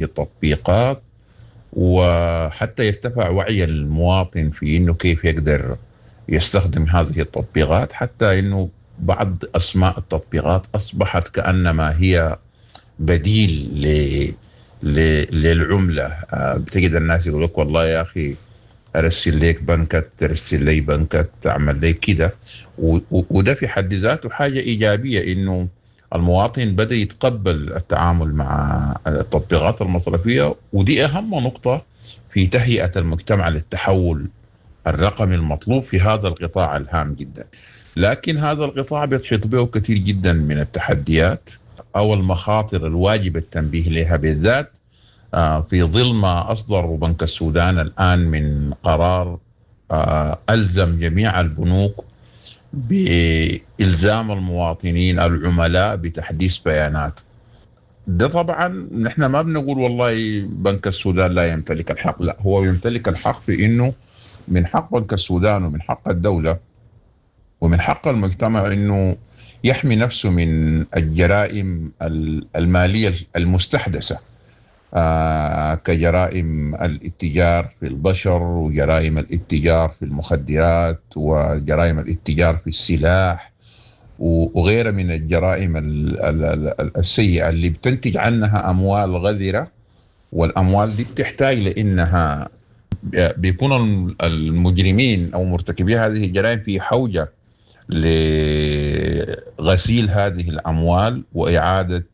التطبيقات، وحتى يرتفع وعي المواطن في إنه كيف يقدر يستخدم هذه التطبيقات، حتى إنه بعض أسماء التطبيقات أصبحت كأنما هي بديل للعملة. بتجد الناس يقول لك والله يا أخي أرسل لك بنكك، ترسل لي بنكك، تعمل لي كده، وده في حد ذاته حاجة إيجابية، إنه المواطن بدأ يتقبل التعامل مع التطبيقات المصرفية، ودي أهم نقطة في تهيئة المجتمع للتحول الرقمي المطلوب في هذا القطاع الهام جدا. لكن هذا القطاع بيحيط به كثير جدا من التحديات أو المخاطر الواجب التنبيه لها، بالذات في ظل ما أصدر بنك السودان الآن من قرار ألزم جميع البنوك بإلزام المواطنين العملاء بتحديث بيانات. ده طبعا نحن ما بنقول والله بنك السودان لا يمتلك الحق، لا، هو يمتلك الحق في إنه من حق بنك السودان ومن حق الدولة ومن حق المجتمع إنه يحمي نفسه من الجرائم المالية المستحدثة، كجرائم الاتجار في البشر وجرائم الاتجار في المخدرات وجرائم الاتجار في السلاح وغيرها من الجرائم السيئة اللي بتنتج عنها أموال غذرة، والأموال دي بتحتاج لإنها بيكون المجرمين أو مرتكبي هذه الجرائم في حوجة لغسيل هذه الأموال وإعادة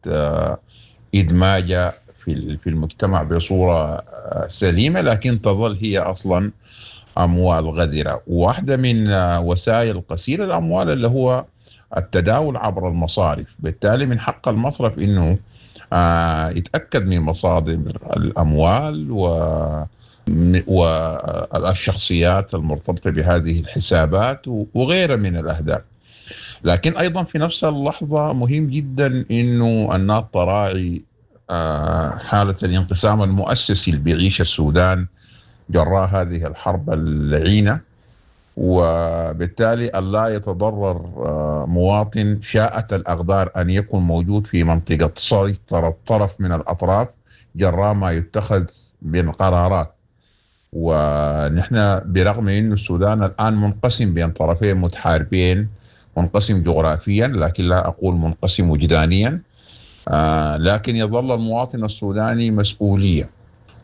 إدماجها في المجتمع بصورة سليمة، لكن تظل هي أصلا أموال غذرة. واحدة من وسائل غسيل الأموال اللي هو التداول عبر المصارف، بالتالي من حق المصرف إنه يتأكد من مصادر الأموال والشخصيات المرتبطة بهذه الحسابات وغيرها من الأهداف. لكن أيضا في نفس اللحظة مهم جدا إنه الناس تراعي حالة الانقسام المؤسسي اللي بيعيش السودان جراء هذه الحرب اللعينة، وبالتالي ألا يتضرر مواطن شاءت الأقدار أن يكون موجود في منطقة سيطرة طرف من الأطراف جراء ما يتخذ من قرارات. ونحن برغم أن السودان الآن منقسم بين طرفين متحاربين، منقسم جغرافيا لكن لا أقول منقسم وجدانيا، لكن يظل المواطن السوداني مسؤولية،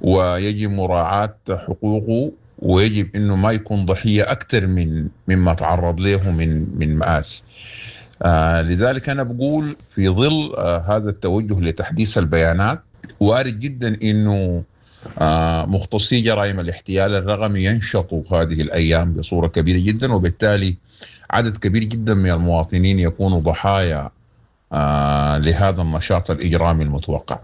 ويجب مراعاة حقوقه، ويجب أنه ما يكون ضحية أكثر مما تعرض له من مآسي. لذلك أنا بقول في ظل هذا التوجه لتحديث البيانات، وارد جدا أنه مختصي جرائم الاحتيال الرقمي ينشطوا هذه الأيام بصورة كبيرة جدا، وبالتالي عدد كبير جدا من المواطنين يكونوا ضحايا لهذا النشاط الإجرامي المتوقع.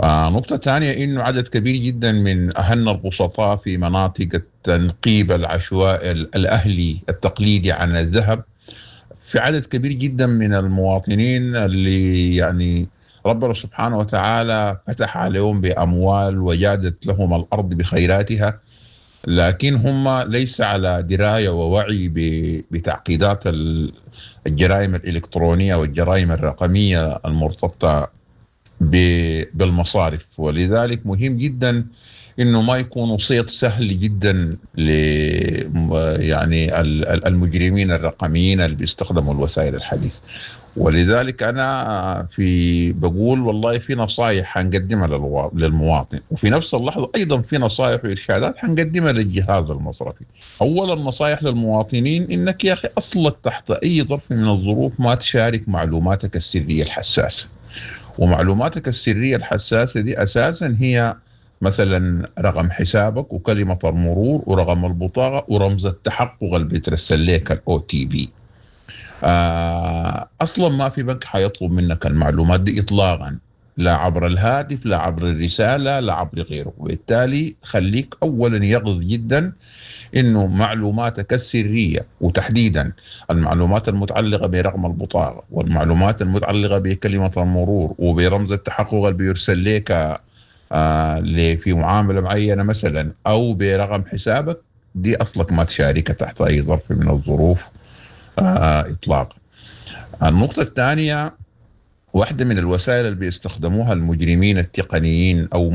نقطة ثانية إنه عدد كبير جدا من أهلنا البسطاء في مناطق التنقيب العشوائي الأهلي التقليدي عن الذهب، في عدد كبير جدا من المواطنين اللي ربنا سبحانه وتعالى فتح عليهم بأموال وجادت لهم الأرض بخيراتها، لكن هم ليس على دراية ووعي بتعقيدات الجرائم الإلكترونية والجرائم الرقمية المرتبطة بالمصارف. ولذلك مهم جدا إنه ما يكون صيد سهل جدا المجرمين الرقميين اللي بيستخدموا الوسائل الحديثة. ولذلك أنا بقول والله في نصائح حنقدمها للمواطن، وفي نفس اللحظة أيضا في نصائح وإرشادات حنقدمها للجهاز المصرفي. أولا نصائح للمواطنين إنك يا أخي أصلك تحت أي ظرف من الظروف ما تشارك معلوماتك السرية الحساسة، ومعلوماتك السرية الحساسة دي أساسا هي مثلا رقم حسابك وكلمة المرور ورقم البطاقة ورمز التحقق اللي بيترسل لك ال OTP. أصلا ما في بنك حيطلب منك المعلومات دي إطلاقا، لا عبر الهاتف لا عبر الرسالة لا عبر غيره. وبالتالي خليك أولا يقظ جدا إنه معلوماتك السرية وتحديدا المعلومات المتعلقة برقم البطاقة والمعلومات المتعلقة بكلمة المرور وبرمز التحقق اللي بيرسل لك في معاملة معينة مثلا أو برقم حسابك، دي أصلك ما تشاركها تحت أي ظرف من الظروف إطلاقا. النقطة الثانية، واحدة من الوسائل اللي بيستخدموها المجرمين التقنيين أو